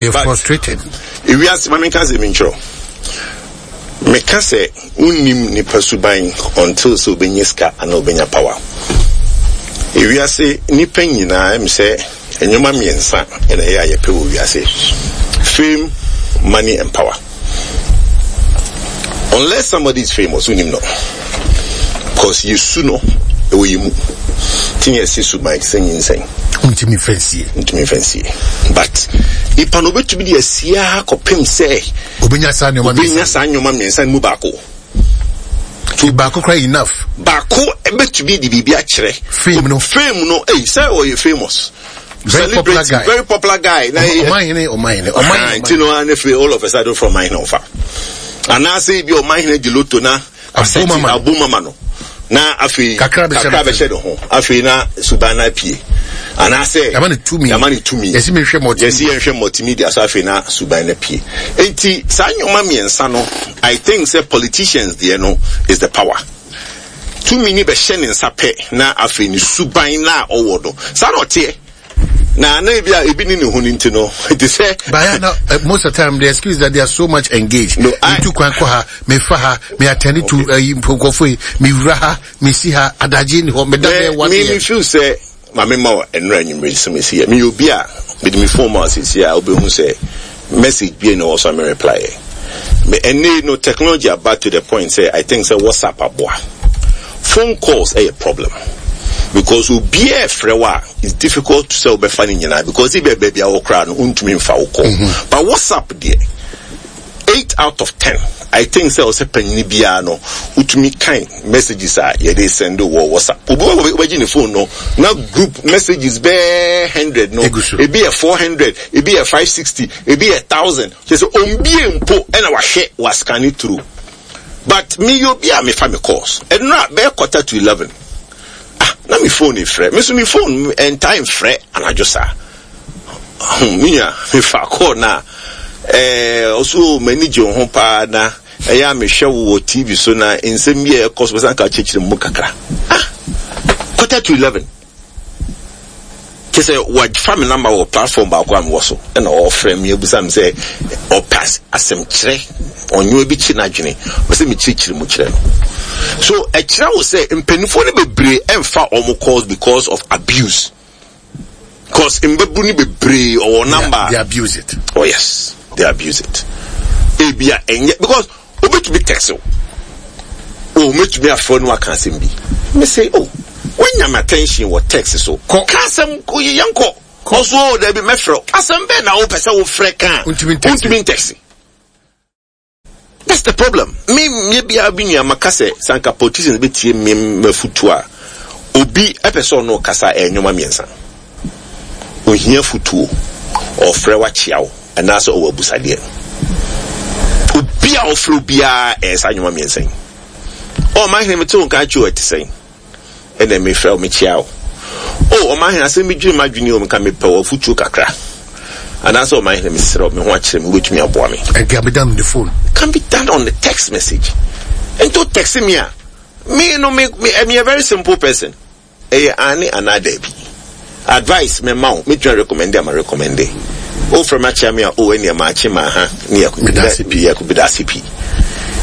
Yɛ frustrated. Ewiase ma menka asɛm bi nkyerɛ wo. Meka sɛ wonnim nipa suban until sɛ obenya sika anaa obenya power. Ewiase nipa nyinaa ɛm sɛ nneɛma mmiɛnsa na ɛyɛ a yɛpɛ wɔ wiase. Fame, money and power. Unless somebody is famous, wonim no. Cause yɛsu no ɛwɔ yɛ mu. Ti ne yɛse suban te sɛ nyinsɛn. Ntumi nfa nsie. Ntumi nfa nsie. But nipa no obetumi de asie ara kɔpem sɛ. Obenya saa nneɛma mmiɛnsa. Obenya saa nneɛma mmiɛnsa no mu baako. So baako kora enough. Baako betumi de biribi akyerɛ. Fame no. Fame no, eyi sɛ ɔyɛ famous. Very popular guy. Very popular guy. Na ɔman hene, ɔman hene, ɔman hene. Nti no ne firi all of a sudden from ɔman hene ɔfa. Anaasɛ ebi ɔman hene di loto na. Asɛti abo mama no na afei kakra bɛhyɛ ne ho afei na suban no apue anaasɛ yɛama ne tumi yɛama ne tumi yɛsi mehwɛ multimedia yɛsi yɛnhwɛ multimedia so afei na suban no apue nti saa nneɛma mmiɛnsa no I think sɛ politicians deɛ no is the power tumi ni bɛhyɛ ne nsa pɛ na afei ne suban na ɔwɔ no saa na ɔteɛ. Na na ebi a ebi ni ne ho no nti no te sɛ. But yeah, no, most of the time the excuse that they are so much engaged. No, I. Me tu kwan kɔ ha, me fa ha, me attend to nkurɔfoɔ yi, me wura ha, me si ha, adagye ni hɔ, me da bɛyɛ 1 Me me feel sɛ maame ma wɔ nnura anwummere sɛ me si yɛ. Me yɛ obi a me de me phone ma sisi a wobɛhu sɛ message bi na ɛwɔ so a me reply yɛ. Me ɛnne no technology aba to the point sɛ I think sɛ WhatsApp aboa. Phone calls ɛyɛ problem because obiara ɛfrɛ wo a it's difficult to sɛ wobɛfa ne nyinaa because ebia baabi a wɔ koraa no wontumi mfa wo call mm-hmm. but WhatsApp deɛ 8 out of 10 I think sɛ ɔsɛ panyini biara no wotumi kan messages a yɛde send wɔ WhatsApp. Obi wɔ wobɛgye ne phone no na group messages bɛɛ 100 no, ebi yɛ 400, ebi yɛ 560, ebi yɛ 1000, kyerɛ sɛ ombie mpo ɛna wahwɛ wascan through. But me yɛ obi a mefa me calls. Ɛnora bɛyɛ 10:45. Ah, na me phone frɛ. Me so me phone ɛntae mfrɛ anadwo saa. Me nua, mefa call na ɛɛ ɔso m'ani gye wo ho paa na ɛyɛ a mehwɛ wo wɔ TV so na nsɛm bi a ɛkɔ so bɛsan ka kyerɛkyerɛ mu kakra. Ah, 10:45. Kyerɛ sɛ wafa me number wɔ platform baako a mewɔ so ɛna ɔfrɛ me abusa me sɛ ɔpɛ asɛm kyerɛ ɔnyewa bi kye n'adwene ɔsɛ mekyerɛkyerɛ mu kyerɛ no. So ɛkyerɛ wo sɛ mpanimfoɔ no bebree ɛmfa wɔn calls because of abuse. Cause mbabunu no bebree ɔwɔ number. They abuse it. Oh yes, they abuse it. Ebia ɛnyɛ because obetumi text wo. Oh, metumi afrɛ no aka asɛm bi. Me say, oh, wanya my attention wɔ text so. Ka asɛm yɛnkɔ. Ɔso oh, dabi mɛfrɛ wo. Asɛm bɛn na wopɛ sɛ wofrɛ ka a? Wontumi ntext. That's the problem. Me me bia bi nua maka sɛ sanka politicians betie me mafutu a obi ɛpɛ sɛ ɔno kasa ɛyɛ nneɛma mmiɛnsa. Ohia futuo, ɔfrɛ wakyea wo, anaasɛ ɔwɔ abusadeɛ. Obi a ɔfrɛ obiara ɛyɛ saa nneɛma mmiɛnsa yi. Ɔ ɔman hene mete wo nka akyi o ɛte sɛn? Ɛna mefrɛ wo mekyia wo. O ɔman hene asɛm bi dwiri m'adwene o nka mepɛ wɔ afutuo kakra. Anaasɛ ɔman hene mesrɛ wo me ho akyerɛ me wobɛtumi aboa me. It can be done on the phone. Can be done on the text message. Nti o text me a me no me me I'm a very simple person. Ɛyɛ aane anaa daabi. Advice me ma wo metumi recommend ama recommend. O frɛ me akyea me a o ɛneɛ maakye maaha ne yɛ yɛ medase pii.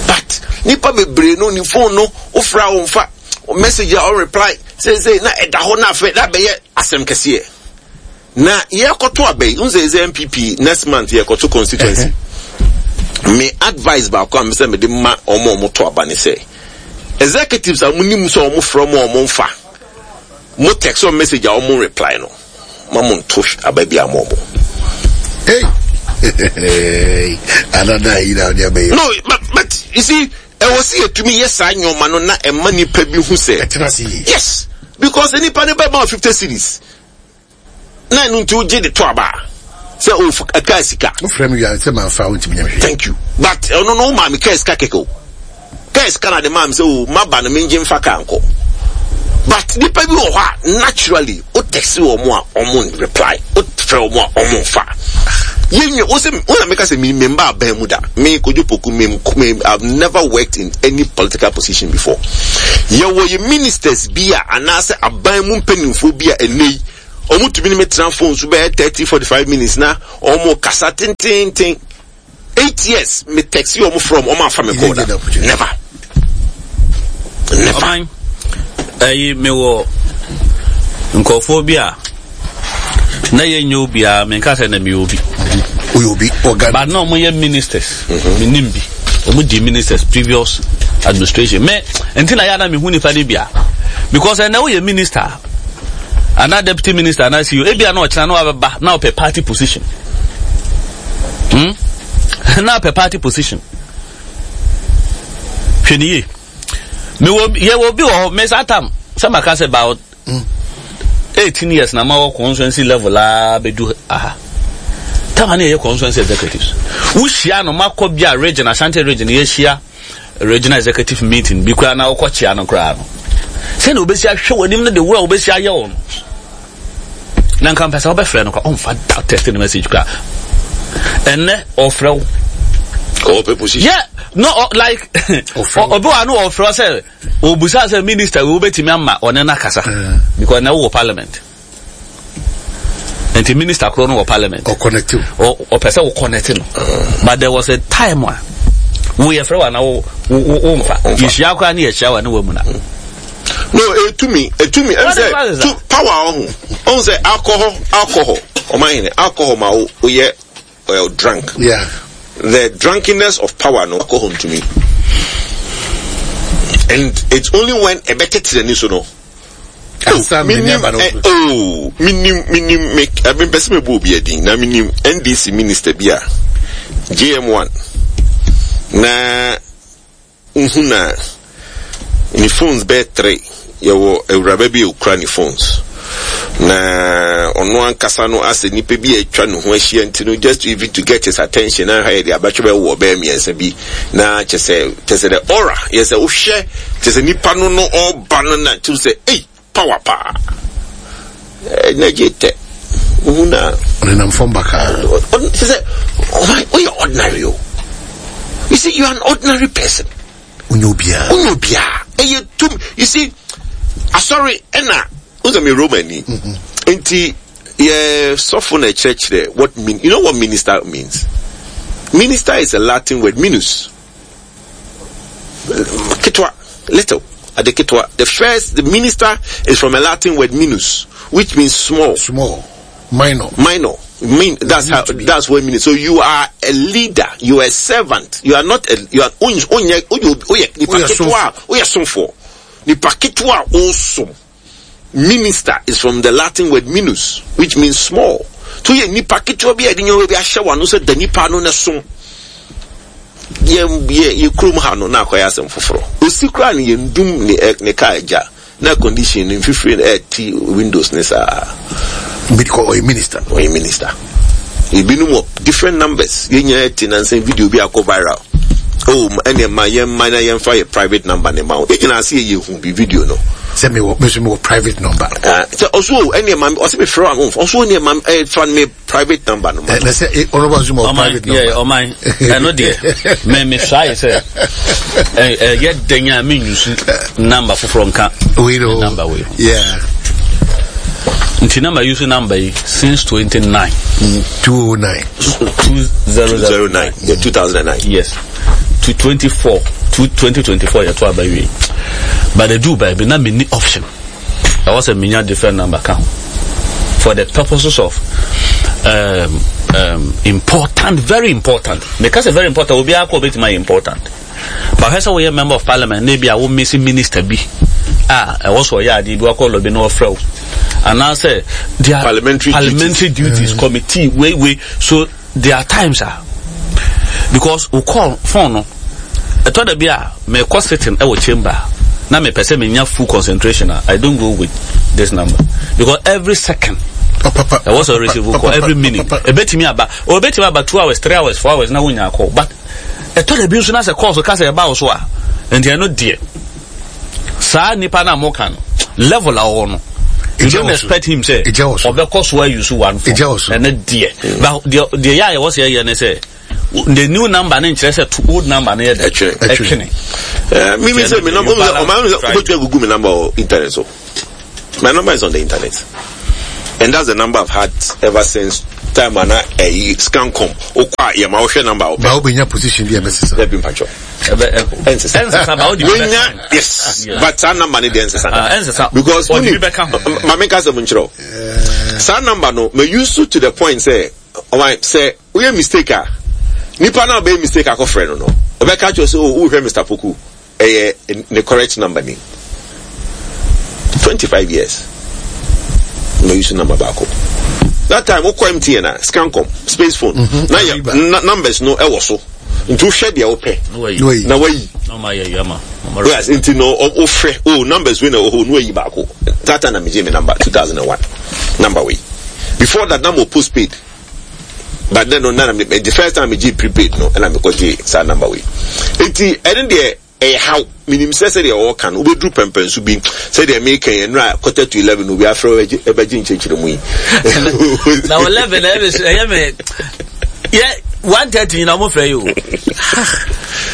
But nipa bebree no ne phone no wofrɛ a wɔmfa message a ɔreply seesei na ɛda hɔ na afei na abɛyɛ asɛm kɛseɛ. Na yɛkɔto aba yi, n sɛ sɛ NPP next month yɛkɔto constituency. Me advice baako a mesɛ mede ma wɔn a wɔto aba ne sɛ executives a monim sɛ wɔn frɛ mo a wɔn mfa mo text or message a wɔn reply no ma mo nto aba bi ama wɔn. Hey. Another yi na ɔde abɛyɛ. No, but you see, ɛwɔ sɛ yɛtumi yɛ saa nneɛma no na ɛma nipa bi hu sɛ. Ɛtena se yie. Yes, because nipa no bɛma 50 cedis. Na ɛno nti wogye de to aba sɛ o kaa sika. Wofrɛ me wia sɛ manfa wontumi nyɛ hwee. Thank you. But ɛno no womaa me kaa sika kɛkɛ o. Kaa sika na de maa me sɛ o maba no mengye mfa kaa nkɔ. But nipa bi wɔ hɔ a naturally wo text wɔn a wɔn reply, wo frɛ wɔn a wɔn mfa. Yɛnwie wo sɛ wo na meka sɛ me memba aban mu da. Me Kojo Poku me me I've never worked in any political position before. Yɛwɔ yɛ ministers bi a anaasɛ aban mu mpanimfoɔ bi a ɛnɛ yi. Ɔmo tumi ne me tena phone so bɛyɛ 30, 45 minutes na ɔmo kasa tententen. 8 years me text ɔmo from ɔmo afa me call da. Never. Never. Ɔman ɛyi mewɔ nkurɔfoɔ bi a na yɛnyɛ obiara, menka sɛ na meyɛ obi. Oyɛ obi ɔga. But na ɔmo yɛ ministers. Menim bi ɔmo di ministers previous administration. Me nti na yɛ ana mehu nipa no bia, because ɛnɛ woyɛ minister anaa deputy minister anaa CEO, ebia na ɔkyena na wabɛba na ɔpɛ party position, Na ɔpɛ party position. Hwɛ ne yie, mewɔ yɛwɔ obi wɔ hɔ. Me saa tam sɛ maka sɛ about 18 years na ma wɔ constituency level a bɛdu aha tama ne yɛyɛ constituency executives. Wohyia no, makɔ bi a region, Ashanti Region, yɛhyia regional executive meeting bi koraa na wokɔ kyea no koraa no, sɛnea wobɛsi ahwɛ w'anim no, de wo a wobɛsi ayɛ wo no, na nka mpɛ sɛ wobɛfrɛ no koraa, ɔmfa da text ne message koraa. Ɛnnɛ ɔfrɛ wo. Ɔpɛ position. Yeah, no, like obi wa no ɔfrɛ sɛ obusa sɛ minister wo bɛtumi ama ɔne no akasa, because na wowɔ parliament nti minister koro no wɔ parliament. Ɔconnect. Ɔpɛ sɛ wo connect no. But there was a time a wo yɛfrɛ wa na wo wo nfa yɛhyia koraa ne yɛhyia wa ne wa mu na. No, etumi etumi ɛn sɛ tu power ɔho ɔho sɛ alcohol ɔman yɛn alcohol ma wo oyɛ drunk. The drunkenness of power no, alcohol ntumi, and it's only when ɛbɛtete n'ani so no. Minim oh minim minim me ɛbi mpɛ sɛ mebɔ obi adin na minim NDC minister bi a JM1 na nhu na ne phones bɛyɛ three. Yɛwɔ awuraba bi a okura ne phones na ɔno ankasa no asɛ nipa bi a atwa ne ho ahyia nti no, just to even to get his attention na ha yɛde abatwe bɛ wɔ bɛyɛ mmiɛnsa bi na kyɛ sɛ the aura yɛ sɛ wohwɛ kyɛ sɛ nipa no ɔba no na kyerɛ sɛ ei, power paa ɛna gye tɛ wohu na ɔnenam fam bakaa. Kyɛ sɛ ɔyɛ ordinary o. You see, you are an ordinary person. Wonyɛ obiara. Wonyɛ obiara. Ɛyɛ tum. You see, asɔre ɛna wosɛ me Roman ni nti yɛ sɔfo na ɛkyerɛkyerɛ what mean. You know what minister means? Minister is a Latin word, minus, ketewa, little, ade ketewa. The minister is from a Latin word minus, which means small. Small, minor. Minor mean that's how, that's what it means. So you are a leader, you are a servant, you are not a, you are onye oye nipa ketewa, oyɛ somfo, nipa ketewa osom. Minister is from the Latin word minus, which means small. So yɛ nipa ketewa bi a yɛde nneɛma bi ahyɛ wɔn ano sɛ da nipa no ne som. Yɛ yɛ yɛ kurom ha no na akɔyɛ asɛm foforɔ. Osi koraa no, yɛn dum ne ɛ ne kaa agya na condition no mfifiri no ɛɛti windows ne saa. Because ɔyɛ minister. Ɔyɛ minister. Ebinom wɔ different numbers. Yɛn nyinaa ti nansan video bi akɔ viral. Oh, ɛnna ma yɛn mma na yɛn fa yɛ private number ne ma wo. Yɛn nyinaa se yɛ hu bi video no. Sɛ mewɔ, me nso mewɔ private number. Sɛ ɔso o, ɛnna ma ɔsɛ mi frɛ wa ɔso ɛnna ma ɛ fa mi private number no ma. Na sɛ ɔno ba nso ma private number. Yɛ ɔman ɛno deɛ mɛ try sɛ ɛ ɛyɛ dɛn a mi nyusu number foforɔ nka wei no number wei. Nti na ma use number yi since 29. 209. 2009. Yeah, 2009. Yes, to 24 to 2024 yɛ to aba wie, but edu baabi na mi ni option, ɛwɔ sɛ mi nya different number ka ho for the purposes of important, very important. Meka sɛ very important, obiara kɔ obetuma yɛ important, but hwɛ sɛ woyɛ member of parliament na ebi a wo miss minister bi a ɛwɔ sɛ ɔyɛ adeɛ bi, wakɔ lobby na ɔfrɛ wo anaasɛ their parliamentary, parliamentary duties, committee wei wei. So there are times ah, because wo call phone no, ɛtɔ da bi a mekɔ sitting ɛwɔ chamber na mepɛ sɛ menya full concentration a, I don't go with this number because every second ɛwɔ sɛ receive call, every minute ɛbɛtumi aba, ɔbɛtumi aba 2 hours, 3 hours, 4 hours na wonya call. But ɛtɔ da bi nso na sɛ call so ka sɛ ɛba wo so a, nti ɛno deɛ saa nipa na moka no level a ɔwɔ no, you don't expect him sɛ ɔbɛkɔ so ayi so one phone. Ɛno deɛ, but deɛ yɛ a yɛwɔ sɛ yɛyɛ ne sɛ the new number ne nkyerɛ sɛ to old number ne yɛ dɛ ɛtwene. Mimi sɛ mi number ɔmaa mi sɛ wobɛtumi agugu mi number wɔ internet so. My number is on the internet. And that's the number I've had ever since time ana ɛyi scancom okɔ a yɛ ma wohwɛ number a wopɛ. Ba wobɛnya position bi a ɛbɛsesa. Dabi mpakyɛw. Ɛnsesa. Ɛnsesa ba wode bi bɛka Wenya yes but saa number ne deɛ ɛnsesa da. Ah, ɛnsesa. Because Ɔde wonim bi bɛka ho. ma menka asɛm nkyerɛ wo. Saa number no ma use to the point sɛ ɔman sɛ woyɛ mistake a nipa no a ɔbɛyɛ mistake akɔfrɛ no no ɔbɛka kyerɛ sɛ oh wohwɛ Mr. Poku Ɛyɛ ne correct number ni. 25 years na use number baako. That time wokɔ MTN a Scancom space phone mm -hmm. na yɛ na numbers no ɛwɔ so nti wohwɛ deɛ wopɛ na wayi. Yes, nti no wofrɛ oh numbers wei na ɛwɔ hɔ na wayi baako. That time na megye me number 2001 number wei. Before that na mo postpaid. But then no na me the first time me gye prepaid no ɛna me kɔ gye saa number wei. Eti ɛne deɛ ɛyɛ haw menim sɛ sɛdeɛ ɔɔka no wobɛduru pɛmpɛnso bi sɛdeɛ meka yi ɛnora 10:45 obi afrɛ ɛbɛgye nkyerɛkyerɛ mu yi. Na 11 ɛyɛ me yɛ 1:30 nyinaa ɔmo frɛ yi o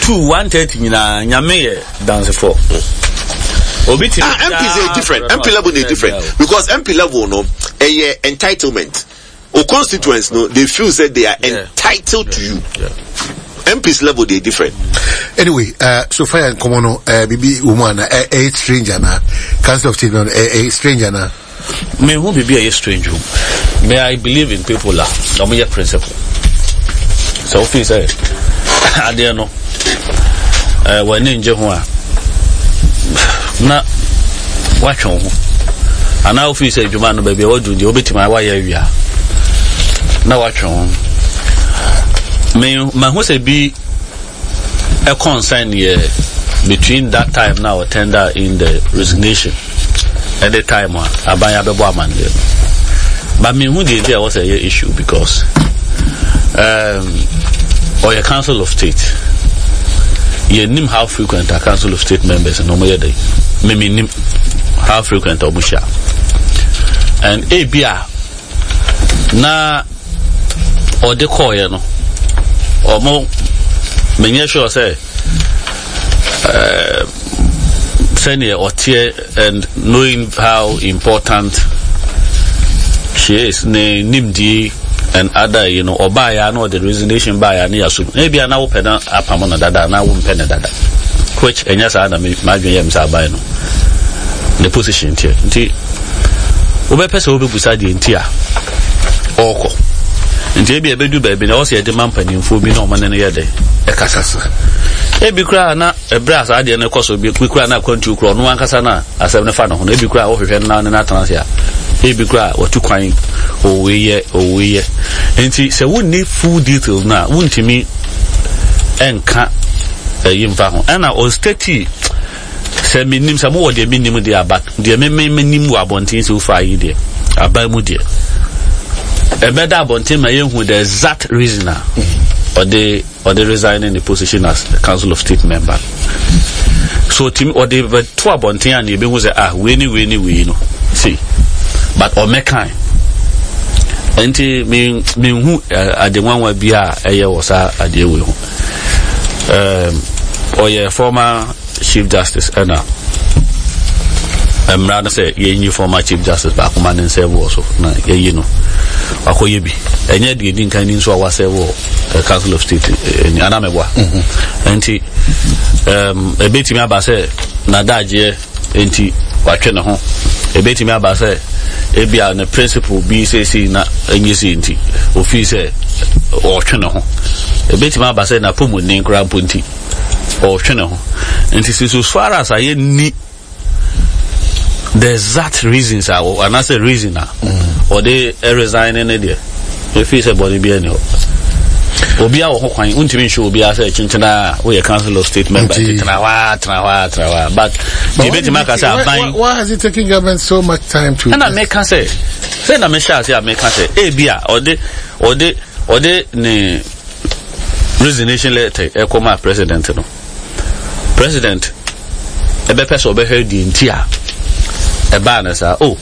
2 1:30 nyinaa nyame yɛ dansefo. Obi ti. Ah, MP is different. MP level is different because MP level no ɛyɛ entitlement. O constituents no they feel say they are yeah. entitled yeah. to you. Yeah. MPs level they different. Anyway, so far and common no, bibi woman, a stranger na council of state no, a stranger na. Me who bibi a stranger. May I believe in people la. No me principle. So fi say adeɛ no eh w'ani ngye ho a na watwe wo ho anaa wofii sɛ adwuma no baabi a wadu deɛ wobɛtumi a wayɛ awie a na watwe ho me mahu sɛ bi concern yɛ between that time na ɔ tender in the resignation and the time a aban abɛbɔ amanneɛ no but mehu deɛ nti a ɛwɔ sɛ ɛyɛ issue because um, ɔyɛ council of state yɛnim how frequent a council of state members na wɔyɛ dɛ memenim how frequent a wɔhyia and ebi a na ɔde kɔɔeɛ no ɔmo menyɛ sure sɛ uh, sɛdeɛ ɔteɛ and knowing how important she is ne nimdie and other you know ɔbaa ya na ɔde resignation baa ya ne yasom ebi a na wopɛ na apam no dada na wompɛ no dada which ɛnyɛ saa na m'adwene yɛ me sɛ aban no ne position teɛ nti wobɛpɛ sɛ wobɛbusa deɛ nti a ɔrekɔ nti ebi ɛbɛdu baabi na ɛwɔ sɛ yɛde ma mpanimfoɔ bi na ɔmo ne no yɛ dɛ ɛkasa ebi koraa na ɛberɛ a saa adeɛ no kɔ so bi koraa na akwantuo koraa ɔno ankasa na asɛm no fa ne ho no ebi koraa wohwehwɛ no na ne no atena ase a ebi koraa watu kwan owei yɛ owei yɛ nti sɛ wonni full details no a wontumi ɛnka ɛyi mfa ho ɛna ɔstati Sɛ mennim, sɛ mowɔ deɛ mennim deɛ a, but deɛ me me menim wɔ abɔnten so far yi deɛ, aban mu deɛ, ɛbɛda abɔnten ma yɛhu the exact reason a ɔde ɔde resign in the position as council of state member. So tim ɔde bɛto abɔnten a na yɛbɛhu sɛ ah wei ne wei ne wei no see but ɔmɛkan nti me menhu eh, ade nwanwa bi a ɛyɛ wɔ saa adeɛ wei ho. Um, ɔyɛ former chief justice ɛna mmara no sɛ yɛnyi former chief justice baako ma ne nsɛm wɔ so na yɛyi no wakɔyɛ bi ɛnyɛ deɛ ɛdi nkan ni nso a wasɛ wɔ eh, council of state eh, eh, anamɛboa mhm. nti ɛbɛtumi aba sɛ nadagyeɛ Enti watwe ne ho. Ebetumi aba sɛ ebia ne principle bi seesei na enye sei nti, ofii sɛ ɔretwe ne ho. Ebetumi aba sɛ n'apɔmuden koraa mpo nti, ɔretwe ne ho. Nti sɛ so far as a yɛnni the exact reasons a anaasɛ reason a ɔde resign ne deɛ, Efiri sɛ bɔne biara nni hɔ. Obiara wɔ ho kwan, wontumi nhyɛ obiara sɛ kyenkyena a woyɛ council of state member nti tena hɔ a tena hɔ a tena hɔ a but deɛ ebetumi aka sɛ aban. Why has it taken government so much time to? Ɛna meka sɛ sɛ na mehyɛ ase a meka sɛ ebi a ɔde ɔde ɔde ne resignation letter ɛkɔ ma president no. President ɛbɛpɛ sɛ ɔbɛhwɛ deɛ nti a ɛbaa no saa. Oh,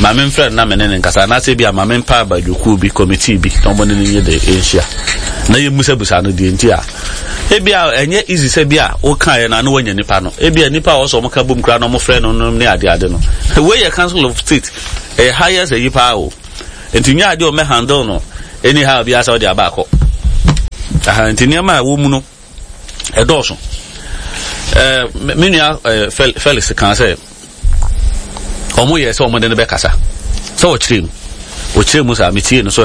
ma memfrɛ no na me ne no nkasa anaasɛ bi a ma mempa abadwokuo bi, committee bi na wɔne no nyɛ de nhyia na yɛmmusabusa no deɛ nti a ebi a ɛnyɛ easy sɛ bi a wokaeɛ no ano wanya nipa no ebi a nipa a ɔsɛ wɔn ka bom koraa na wɔfrɛ no no ne adeade no. Wei yɛ council of state ɛyɛ highest ayi paa o. Nti nyɛ adeɛ ɔmɛ handle no anyhow biara sɛ ɔde aba akɔ. Aha, nti nneɛma a ɛwɔ mu no ɛdɔɔso. Ɛɛ me nua ɛɛ Felix kan sɛ wɔn yɛ sɛ wɔn de no bɛkasa sɛ ɔkyerɛ mu ɔkyerɛ mu saa metie no sɛ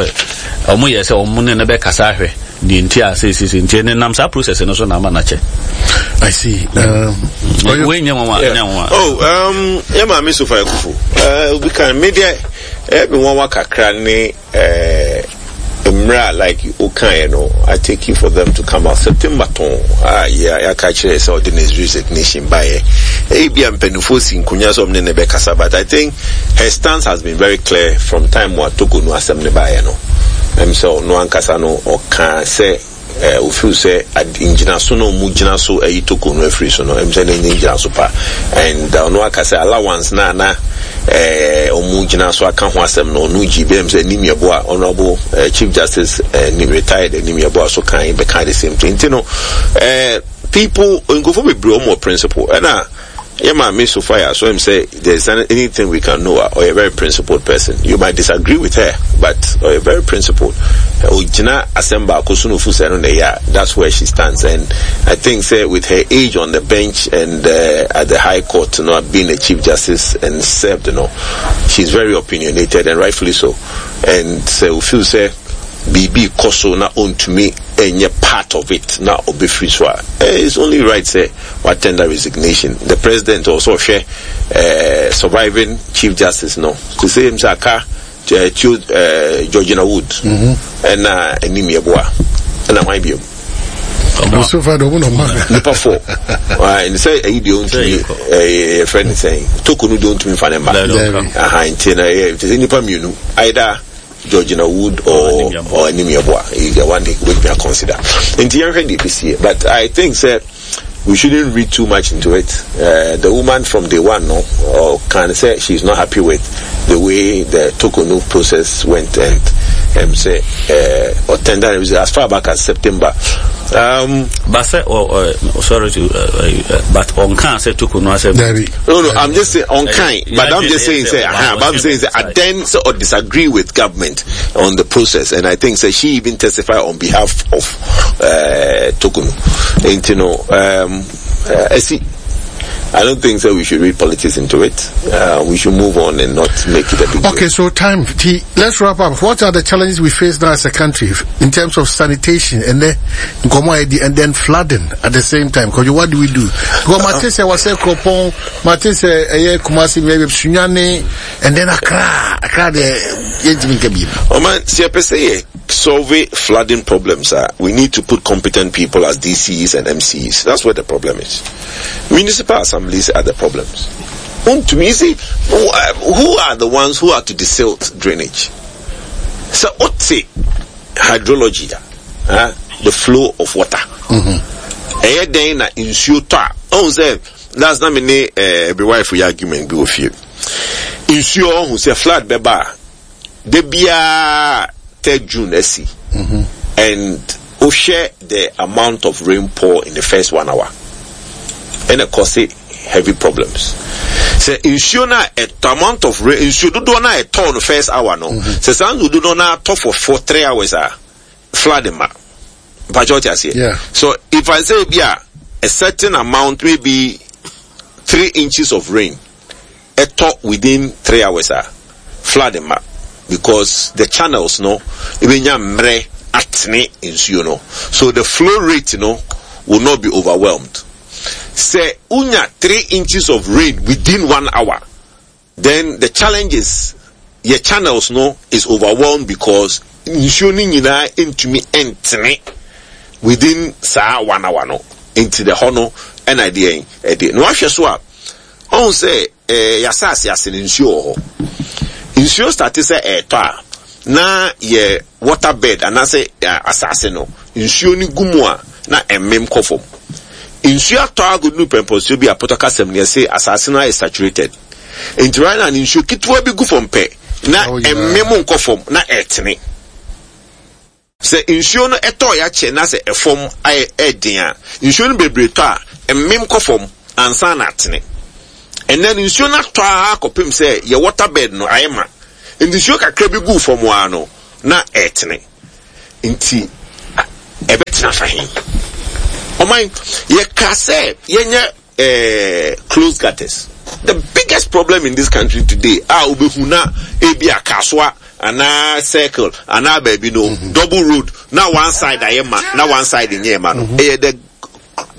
wɔn yɛ sɛ wɔn ne no bɛkasa ahwɛ deɛ nti a seesese nti ɛne nam saa process no so na ama no akyɛ. I see. Wei nyɛ nwanwa nyɛ nwanwa. Oh, yɛ maame Sofa Akufo. Obi kan me deɛ ɛyɛ me nwanwa kakra ne Eh mmerɛ a like wo kaeɛ no I take you for them to come out September tɔn a yɛaka kyerɛ sɛ ɔde ne resignation baeɛ ebia mpanimfoɔ si nkonya sɛ ɔmo ne ne bɛkasa but I think her stance has been very clear from time a Togo no asɛm ne baeɛ no ɛm sɛ ɔno ankasa no ɔkaa sɛ Eh, wo feel sɛ ad, ngyinaso na ɔmo gyina so ayi toko no afiri so no, ɛm sɛ na ɛnyɛ ngyinaso pa. And ɔno aka sɛ allowance no a na eh, ɔmo gyina so aka ho asɛm no, ɔno gyi bɛm sɛ Anim Yeboah, Honourable eh, Chief Justice eh, retired Anim Yeboah so kan bɛka the same thing. Nti no, eh, people, nkurɔfoɔ bebree ɔmo wɔ principle. Ɛna Yɛ maame Sophia so ɛm sɛ there's anything we can know a ɔyɛ very principled person you might disagree with her but ɔyɛ very principled ɔgyina asɛm baako so na ofu sɛ ɛno na ɛyɛ a that's where she stands and I think sɛ with her age on the bench and uh, at the high court no being a chief justice and served no she's very opinionated and rightfully so and sɛ ofeel sɛ biribi kɔ so na ɔntumi ɛnyɛ part of it na ɔbɛfiri so a eh, it's only right sɛ wa tender resignation the president ɔwɔ sɛ ɔhwɛ eh, surviving chief justice no te sɛ sɛ aka eh, Theo eh, Georgina Wood ɛna anim yɛboa ɛna hwan biom nipa fo sɛ ɛyi deɛ ɔntumi yɛfrɛ ne sɛn toko no deɛ ɔntumi mfa ne mma aha nti na ɛyɛ te sɛ nipa mmienu either Georgina Wood or or Anim Yeboah is the one he wobɛtumi consider nti yɛnhwɛ deɛ ɛbɛsie but I think sɛ we shouldn't read too much into it uh, the woman from day one no or can say she's not happy with the way the Tokonu process went and um, say uh, or tender as far back as September um, but say oh, oh, sorry to but on can say Tokonu I said no no I'm just saying on kind but I'm just saying say uh, but I'm saying say I then sort of disagree with government on the process and I think say she even testified on behalf of uh, Tokonu and you know um uh, I see I don't think so we should read politics into it. Uh, we should move on and not make it a big Okay, deal. so time. T, let's wrap up. What are the challenges we face now as a country in terms of sanitation and then and then flooding at the same time? Because what do we do? Because Mate say was Kropon, Mate say eh Kumasi maybe Sunyani and then Accra. Accra the yentimi nka Oh man, see I solve flooding problems uh, we need to put competent people as DCs and MCs. That's where the problem is. Municipal assemblies are the problems. To me, see, who are the ones who are to desilt drainage? So, what's it? Hydrology, uh, the flow of water. Ɛyɛ dɛn na nsuo tɔ a ɔhu sɛ last na me ne eh, me wife yɛ argument bi wɔ fie nsuo ɔhu sɛ flood bɛba a da biara third June asi and wohwɛ the amount of rain pour in the first one hour ɛna cause heavy problems sɛ nsuo no a ɛtɔ amount of rain nsuo dodoɔ no a ɛtɔɔ no first hour no sɛ saa nsuo dodoɔ no atɔ for for 3 hours a flood ma mpakyɛ ɔte aseɛ. So if I say bi a a certain amount, maybe 3 inches of rain ɛtɔ within 3 hours a flood ma because the channels no ebenya mmerɛ atene nsuo no so the flow rate no will not be overwhelmed. Sɛ unya 3 inches of rain within one hour, then the challenge is your channels no is overwhelmed because nsuo no nyinaa ntumi ntene within saa one hour no nti the hɔ no ɛna ɛdeɛ ɛde na wahwɛ so a ɔhun sɛ ɛɛ yasaase ase no nsuo wɔ hɔ nsuo start sɛ ɛɛtɔ a na yɛ water bed anaasɛ asase no nsuo no gu mu a na ɛmem kɔ fam nsuo atɔ agodu pɛmpɔnsuo bi a pɔtɔ kasɛm no yɛsɛ asase no ayɛ saturated nti right now nsuo ketewa bi gu fam pɛ na ɛmem nkɔ fam na ɛtene sɛ nsuo no ɛtɔ yɛakyɛ na sɛ ɛfam ayɛ ɛden a nsuo no bebree tɔ a ɛmem kɔ fam ansa na atene ɛnɛ no nsuo no atɔ a kɔpem sɛ yɛ water bed no ayɛ ma. Nti nsuo kakra bi guu fam ara no, na ɛretene. Nti ɛbɛtena fa he? Ɔman, yɛka sɛ yɛnyɛ eh, closed gutters. The biggest problem in this country today a wobɛhu na ebi a kasoa anaa circle anaa baabi no mm -hmm. double road na one side ayɛ ma na one side nyɛ ma no mm-hmm. ɛyɛ the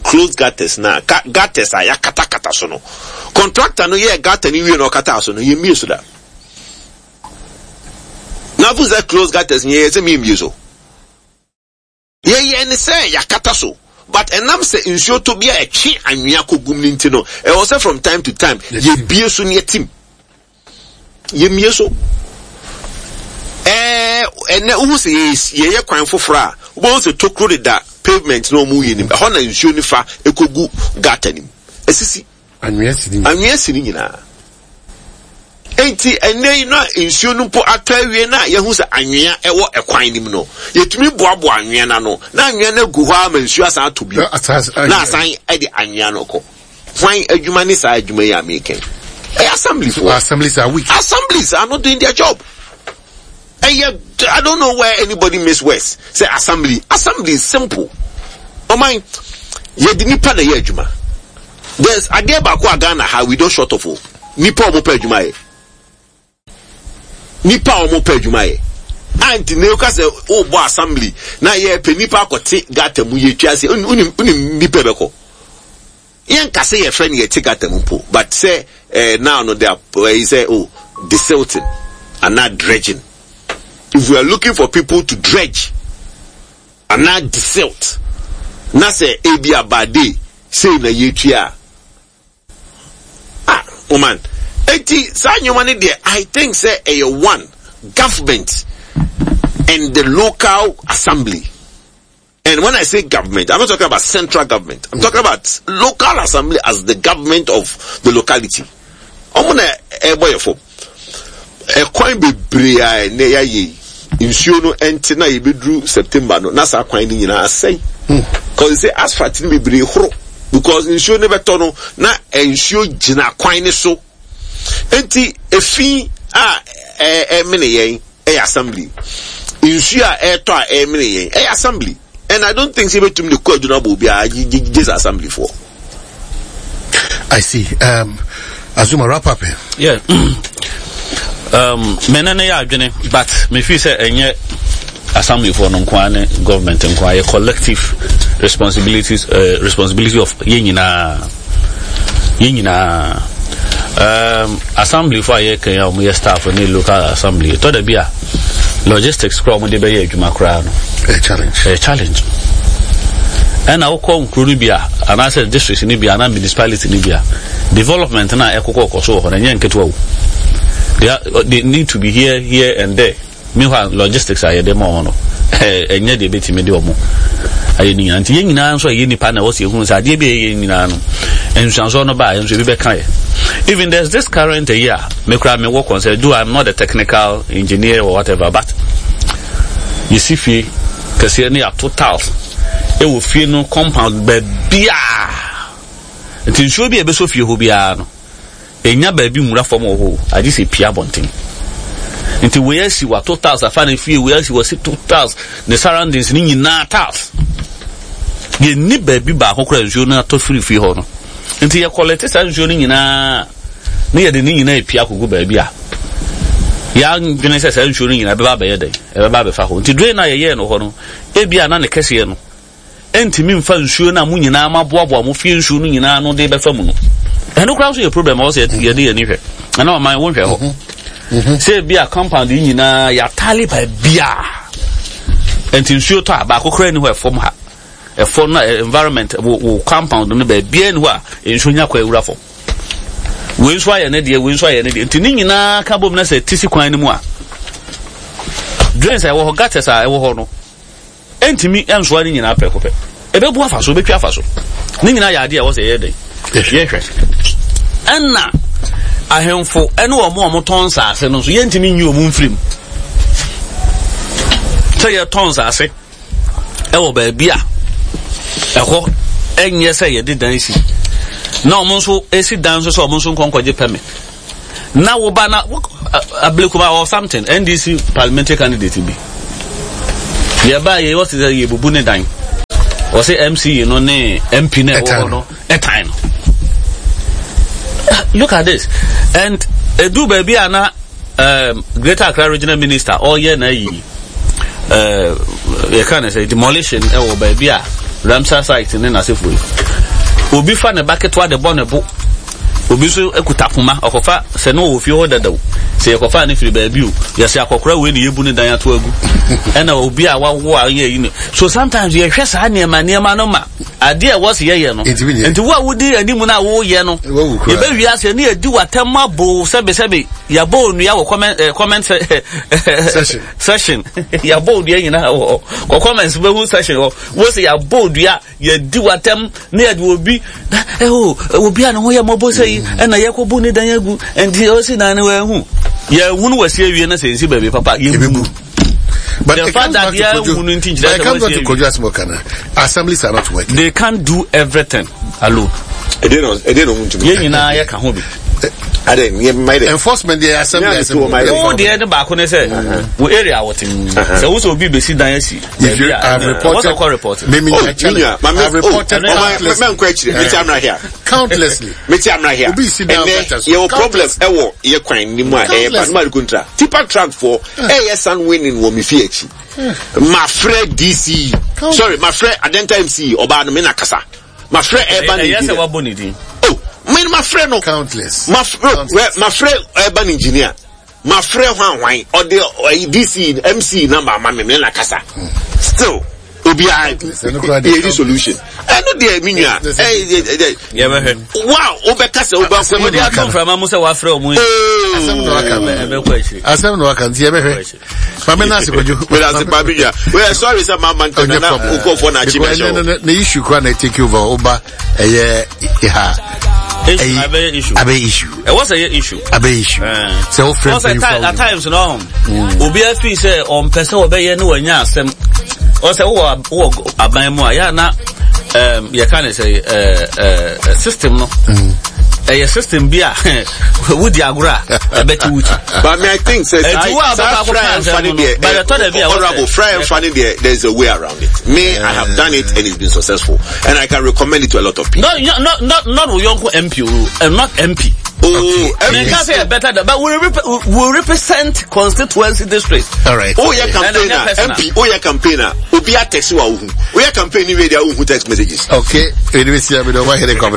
closed gutters na gutters a yɛakatakata so no contractor no yɛ gutter no wie na ɔkataa so no yɛmmie so da na afo sɛ closed gutters nyɛ yɛ sɛ miemmie so Yɛyɛɛ no sɛ yɛakata so but ɛnam sɛ nsuo tɔ bi a ɛtwe anwea kɔgum no nti no, ɛwɔ sɛ from time to time yɛbie so na yɛtim. Yɛmmie so. Ɛɛ ɛnɛ wohu sɛ yɛyɛ kwan foforɔ a, wobɛhu sɛ tokuro deda pavement na wɔn yɛ nim. Ɛhɔ na nsuo no fa ɛkɔgu gutter nim. Ɛsisi. Anwea si ne nyinaa. Anwea si ne nyinaa. Enti ɛnnɛ yi na nsuo no mpo atɔ awie na yɛahu sɛ anwea ɛwɔ ɛkwan no mu no, yɛtumi boaboa anwea no ano na anwea no agu hɔ ara ma nsuo asan atɔ bio na asan de anwea no kɔ. Hwan adwuma ne saa adwuma yi a meka yi? Ɛyɛ assemblyfoɔ. Assemblies are weak. Assemblies are not doing their job. Ɛyɛ I don't know where anybody miss words sɛ assembly assembly is simple ɔman yɛde nipa na ɛyɛ adwuma there's adeɛ baako a Ghana ha we don't short of o nipa a wɔn pɛ adwuma yɛ nipa a wɔn pɛ adwuma yɛ anti na eka sɛ ɔbɔ assembly na yɛ pɛ nipa akɔte gata mu yɛ twa se onim onim nipa bɛkɔ. Yɛnka sɛ yɛfrɛ no yɛte gutter mu mpo but sɛ eh, now no they are eh, sɛ oh desilting anaa dredging. If we are looking for people to dredge anaa desilt na sɛ ebi a by day sei na yɛtua a ah woman eti saa nneɛma no deɛ I think sɛ ɛyɛ one government and the local assembly. And when I say government, I'm not talking about central government. I'm talking about local assembly as the government of the locality. Ɔmo na ɛbɔ yɛ fam. Ɛkwan bebree a ɛnɛ yɛayɛ yi, nsuo no ɛnte na yɛbɛduru September no, na saa kwan no nyinaa asɛe. Cause sɛ asphalt no bebree horo because nsuo no bɛtɔ no na nsuo gyina kwan no so. Enti efi a ɛmene yɛn ɛyɛ assembly. Nsuo a ɛretɔ a ɛremene yɛn ɛyɛ assembly. And I don't think sɛ ebetumi de kɔ adwuma abɔ obiara gye sɛ assembly foɔ. I see. Um, Azuma, wrap up. Eh? Yeah. um, me ne ne yɛ adwene but me feel sɛ ɛnyɛ assembly foɔ no nko ara ne government nko ara yɛ collective responsibilities uh, responsibility of yɛn nyinaa yɛn nyinaa um, assembly fo a yɛka yi a wɔyɛ staff ne local assembly ɛtɔ da bi a logistics koraa wɔde bɛyɛ adwuma koraa no ɛyɛ challenge ɛyɛ challenge ɛna wokɔ nkuro no bi a anaasɛ district no bi a anaa municipality no bi a development no a ɛkokɔ kɔ so wɔ hɔ no ɛnyɛ nketewa o they, are, they need to be here here and there Meanwhile, logistics a yɛde ma wɔn no, ɛnyɛ deɛ ebetumi de wɔn ayɛ ne nyinaa. Nti yɛn nyinaa nso a yɛyɛ nipa na ɛwɔ sɛ yɛhunu sɛ adeɛ bi a yɛyɛ nyinaa no, nsuansoɔ no ba a, nso ebi bɛka yɛ. Even there's this current a year, me kura me wɔ concern, do I'm not a technical engineer or whatever, but yɛsi fie kɛseɛ ne yɛato tiles ɛwɔ fie no compound baabiaa. Nti nsuo bi a ɛbɛsɔ fie hɔ biara no, Ennya baabi nwura fam wɔ hɔ o, agye sɛ epue abɔnten. Nti wei asi wato tiles afa ne fie, wei asi wasi to tiles, ne surroundings ne nyinaa tiles. Yɛnni baabi baako koraa nsuo no atɔ firi fie hɔ no. Nti yɛ kɔlɛte saa nsuo no nyinaa ne yɛde ne nyinaa epue akɔgu baabi a yɛadwene sɛ saa nsuo no nyinaa ɛbɛba abɛyɛ dɛn, ɛbɛba abɛfa hɔ. Nti drain a yɛyɛɛ no hɔ no, ebia na ne kɛseɛ no ɛntumi mfa nsuo no a mo nyinaa moaboaboa mo fie nsuo no nyinaa no de bɛfa mu no ɛno koraa nso yɛ problem a wɔsɛ yɛde yɛn ani hwɛ ɛna ɔman wonhwɛ hɔ mhm. Mhm. sɛ ebi a compound yi nyinaa yɛatale baabiaa nti nsuo tɔ a baako koraa ni hɔ ɛfam ha ɛfam na eh, environment wo wo compound no baabiaa ni hɔ a nsuo nya kɔ awura fam wei nso ayɛ ne deɛ wei nso ayɛ ne deɛ nti ne nyinaa ka bom na sɛ tisi kwan no mu a drains a ɛwɔ hɔ gutters a ɛwɔ hɔ no Ɛntumi nsoa ne nyinaa prɛko pɛ. Ɛbɛbu afa so, ɛbɛtwi afa so. Ne nyinaa yɛ adeɛ a ɛwɔ sɛ yɛyɛ dɛn? Yɛhwɛ. Ɛna ahemfo ne wɔn a wɔtɔn nsaase no nso, yɛntumi nyi wɔn mfiri mu. Sɛ yɛtɔn nsaase ɛwɔ baabi a ɛhɔ ɛnyɛ sɛ yɛde dan si na wɔn nso esi dan nso sɛ wɔn nso nkɔnkɔgye pɛmit na wo ba na Ablekuma or something NDC parliamentary candidate bi. Yɛbaa yɛ wɔsi sɛ yɛbubu ne dan. Wɔsi MC no ne MP na ɛwɔ hɔ no ɛtan no. Look at this and edu baabi a na Greater Accra Regional Minister ɔyɛ na yi yɛka ne sɛ demolition ɛwɔ baabi a Ramsar site ne n'asefo yi. Obi fa ne ba ketewa de bɔ ne bo. Obi nso kuta poma, ɔkɔfa sɛ na ɔwɔ fie hɔ dada o, sɛ yɛkɔfaa no firi baabi o, yɛsɛ akɔkora wei na yɛbu ne dan ato agu. Ɛna obi a wawo a ɔyɛ yi no. So sometimes yɛhwɛ saa nneɛma nneɛma no ma adeɛ a ɛwɔ sɛ yɛyɛ no. Nti wo a wodi anim no a woyɛ no, yɛbɛwie ase ne yɛdi w'atɛm abo sɛbesɛbe, yɛabɔ onua wɔ comment, eh, comment session. session. Yɛabɔ onua nyinaa wɔ hɔ. Kɔ comments bɛhu session hɔ. Wo sɛ yɛabɔ onua Yɛdi w'atɛm na yɛde obi na ɛho eh, obi a ne ho yɛ mmɔbɔ sɛ yi mm. ɛna yɛkɔbu ne dan agu nti ɔsi dan no wɔahu yɛhu no wɔasi awie na sɛ nsi baabi papa yɛbu. But the fact that Kojo, but it comes back to Kojo Asmokana. Assemblies are not working. They can't do everything alone. Yɛn nyinaa yɛ ka ho bi. Enforcement deɛ assembly assembly. Wo deɛ ne baako ne sɛ wo area wote sɛ wo sɛ obi besi dan asi. If you have reported, report. Me, me, oh, challenge. I have reported oh, countlessly. Me amra here. Countlessly. Me amra here. Obi si down better. Your problem ɛwɔ yɛ kwan ni mu a ɛyɛ ba no kontra. Tipa truck for ɛyɛ sun winning wɔ mi fi akyi. Ma frɛ DC. Sorry, ma frɛ Adenta MC ɔbaa no me na kasa. Ma frɛ urban engineer. Ɛyɛ sɛ wabɔ ne din. Oh, me ma frɛ no. Countless. Ma frɛ urban engineer. Mafrɛ hwan hwan ɔde ɔyi DC MC number ama me me na kasa still obiara yɛdi solution ɛno deɛ me nua yɛbɛhwɛ wa wobɛka sɛ wobɛkɔ wode ato mframa mu sɛ wafrɛ ɔmo asɛm na waka ɛbɛkɔ akyiri asɛm na waka nti yɛbɛhwɛ maame na ase kwadwo mena ase pa me nua weyɛ sorry sɛ mama ntɛm na wokɔfoɔ na akyi mɛhyɛ ne issue kora na take over woba ɛyɛ ha abɛyɛ issue abɛyɛ issue ɛwɔ sɛ ɛyɛ issue abɛyɛ issue sɛ o fɛ mpanyinfo at times no obi afi sɛ ɔmpɛ sɛ ɔbɛyɛ ne wanya asɛm ɔsɛ wowɔ wowɔ aban mu a yɛ na yɛka ne sɛ system no ɛyɛ system bi a wodi agorɔ a ɛbɛte wo kyi. But me I think sɛ saa fry nfa ne deɛ honourable fry nfa ne deɛ there is a way around it. Me I have done it and it's been successful and I can recommend it to a lot of people. No, no, not not Oyonko MP, not MP. Oh, okay. MP. say better, but we, we represent constituency districts. All right. Oh yeah, campaigner. MP. Oh yeah, campaigner. Obi a text wa uhu. Oh yeah, campaign ni radio uhu text messages. Okay. Anyway, see, I mean, over here, come